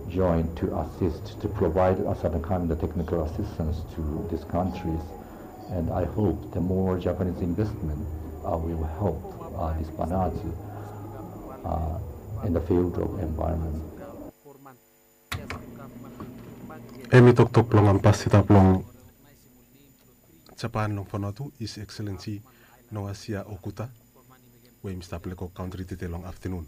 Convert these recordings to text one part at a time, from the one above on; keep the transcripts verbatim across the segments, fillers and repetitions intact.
join to assist, to provide a certain kind of technical assistance to these countries. And I hope the more Japanese investment uh, will help uh, this Vanuatu uh, in the field of environment. Hemi toktok blong ambasada blong Japan long Vanuatu, His Excellency Noasia Okuta, we hemi stap lego kantri tede long aftenun.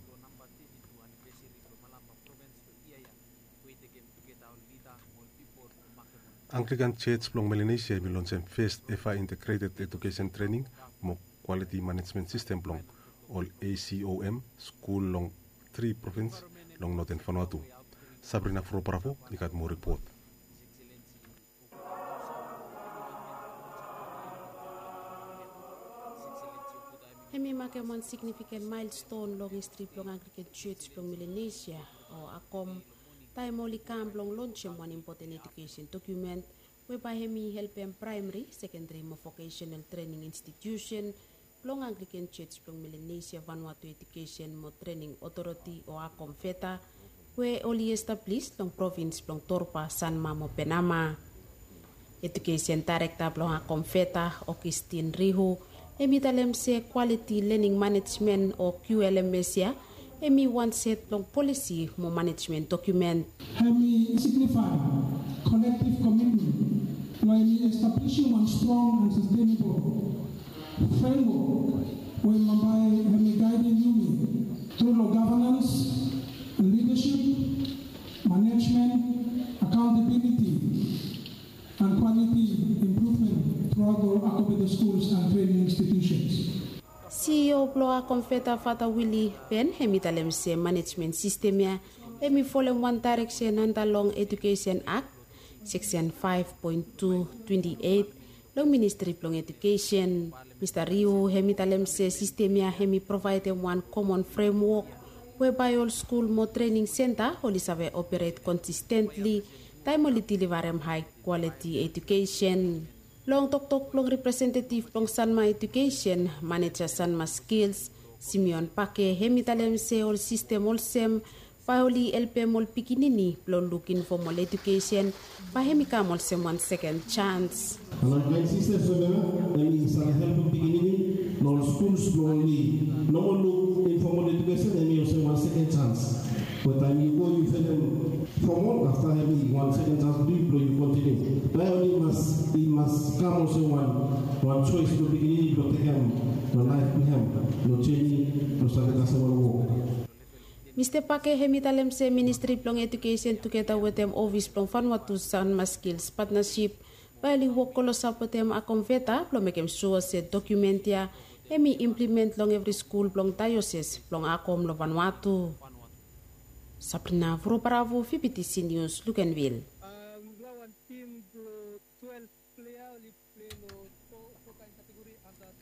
Anglican Church blong Melanesia hemi lonsem fes eva integrated education training mo quality management system blong ol ACOM skul long tri provins long Northern Vanuatu. Sabrina Froparafo i gat moa ripot. Hemi makem wan signifiken milestone long histri blong Anglican Church blong Melanesia o ACOM, taem oli kam blong lonsem wan impoten ejukesen dokumen we bae hemi helpem praemari, sekendari mo vokesenal trening institiusen blong Anglican Church blong Melanesia Vanuatu Ejukesen mo Trening Otoriti o ACOMVETA, we oli establis long provins blong Torba, Sanma mo Penama. Ejukesen daerekta blong ACOMVETA, Augustin Rihu, hemi talem se kwaliti lening manejmen o QLMS ia hemi wan set blong polisi mo manejmen dokumen. Hemi signifae kolektiv komitmen blong hemi establisim wan strong and sastenebol framework we bae hemi gaedem yumi tru long gavanans, lidasip, manejmen, akaontabiliti and kwaliti impruvmen truaot ol ACOMVETA skuls and trening institiusens. CEO blong ACOMVETA, Fata Willy Ben, hemi talem se manejmen sistem ia hemi folem wan daereksen anda long Ejukesen Akt, seksen faef poen tu twenti eit, long Ministri blong Ejukesen. Mista Rihu hemi talem se sistem ia hemi provaedem wan komon fremwok we bae ol skul mo trening senta oli save operet konsistentli taem oli delivarem hae kwaliti ejukesen. Long toktok blong representetiv blong Sanma Ejukesen, maneja Sanma Skills, Simeon Pake, hemi talem se ol sistem olsem bae oli helpem ol pikinini blong luk infomol ejukesen bae hemi kam olsem wan seken jans. Ol sistem blong hemi save helpem pikinini long ol skuls blong oli no moa luk infomol ejukesen, hemi olsem wan seken jans. Be taem yu go yu finis fomol, afta hemi wan seken jans blong yu blong yu kontiniu. Bae oli mas, i mas kam olsem wan, wan joes blong pikinini blong tekem long laef blong hem long jeni blong save kasem ol wok. Mista Pake hemi talem se Ministri blong Ejukesen tugeta wetem ofis blong Vanuatu Sanma Skills Partnership bae oli wok klosap wetem ACOMVETA blong mekem sua se dokumen ia hemi implement long evri skul blong daeosis blong ACOM long Vanuatu. Sabrina Vurobaravu, VBTC News, Luganville.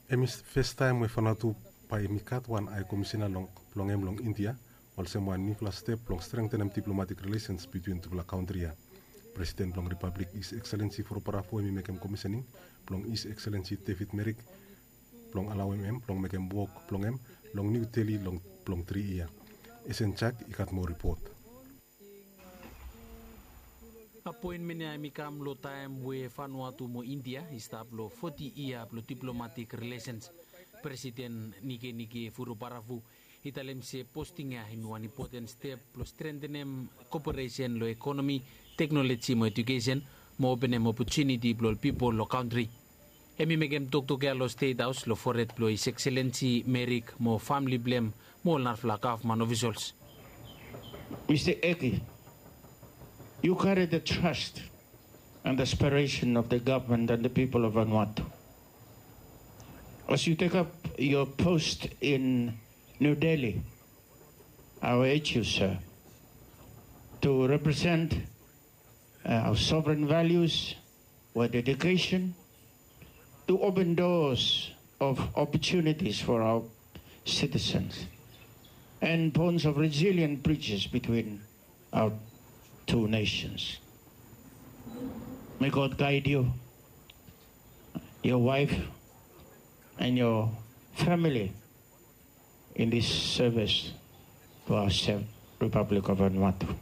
Hemi festaem we Vanuatu bae hemi gat wan hae komisena blong hem long India, olsem wan niufala step blong strengtenem diplomatik rilesens bitwin tufala kantri ia. Presiden blong Ripablik, His Excellency Vurobaravu, hemi mekem komisening blong His Excellency David Merrick blong alaoem hem blong mekem wok blong hem long New Delhi long blong tri yia. Esen Jak i gat moa ripot. Apoenmen ia hemi kam long taem we Vanuatu mo India i stap long foti yia blong diplomatik rilesens. Presiden Nikenike Vurobaravu i talem se posting ia hemi wan impoten step blong strentenem koperesen long ekonomi, teknoloji mo ejukesen mo openem opotuniti blong ol pipol long kantri. Hemi mekem toktok ia long Stet Haos long fored blong His Excellency Merrick mo famle blong hem mo ol narafala gavman ofisals. Mista Eki, you carry the trust and aspiration of the government and the people of Vanuatu. As you take up your post in New Delhi, I urge you, sir, to represent uh, our sovereign values with dedication, to open doors of opportunities for our citizens and bonds of resilient bridges between our two nations. May God guide you, your wife, and your family in this service to our safe Republic of Vanuatu.